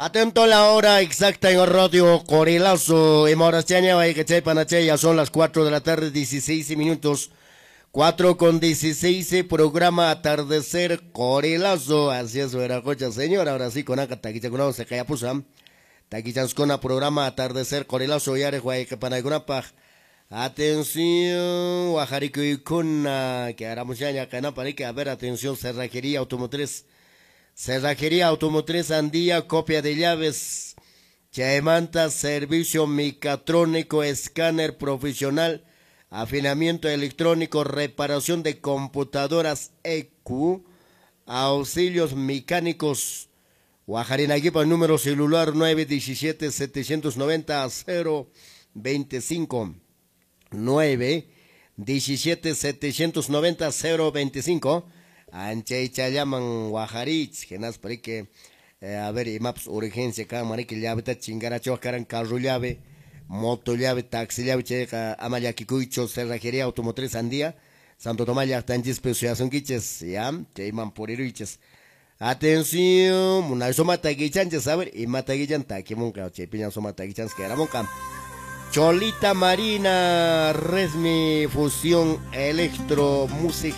Atento a la hora exacta en Radio Corilazo. En ya son las 4 de la tarde, 16 minutos. 4:16, programa Atardecer Corilazo. Así es, Veracocha, señor. Ahora sí, con acá, taquichakunao, se cayapusa. Taquichanscona, programa Atardecer Corilazo. Yare, guayquepanagunapaj. Atención, Guajaricuycuna, que haramos ya, a ver, atención, Cerrajería Automotriz. Cerrajería Automotriz Andía, copia de llaves. Chaymanta, servicio mecatrónico, escáner profesional, afinamiento electrónico, reparación de computadoras EQ, auxilios mecánicos. Guajarinaguipa, número celular 917-790-025. 917-790-025. Anchaychallaman Guajarich, genas que a ver, imaps urgencia kan mariki llaveta chingaracho karan carro llave, moto llave, taxi llave, chayqa ama llakikuychu, Cerrajería Automotriz Andía, Santo Tomás llaqtanchispi suyasunkichis, ya, chayman puriruychis. Atención, munay suma takichanchis, a ver, ima takichan takimunqa, chaypiña suma takichanchis keramunqa. Cholita Marina, Resmi Fusión Electro Music.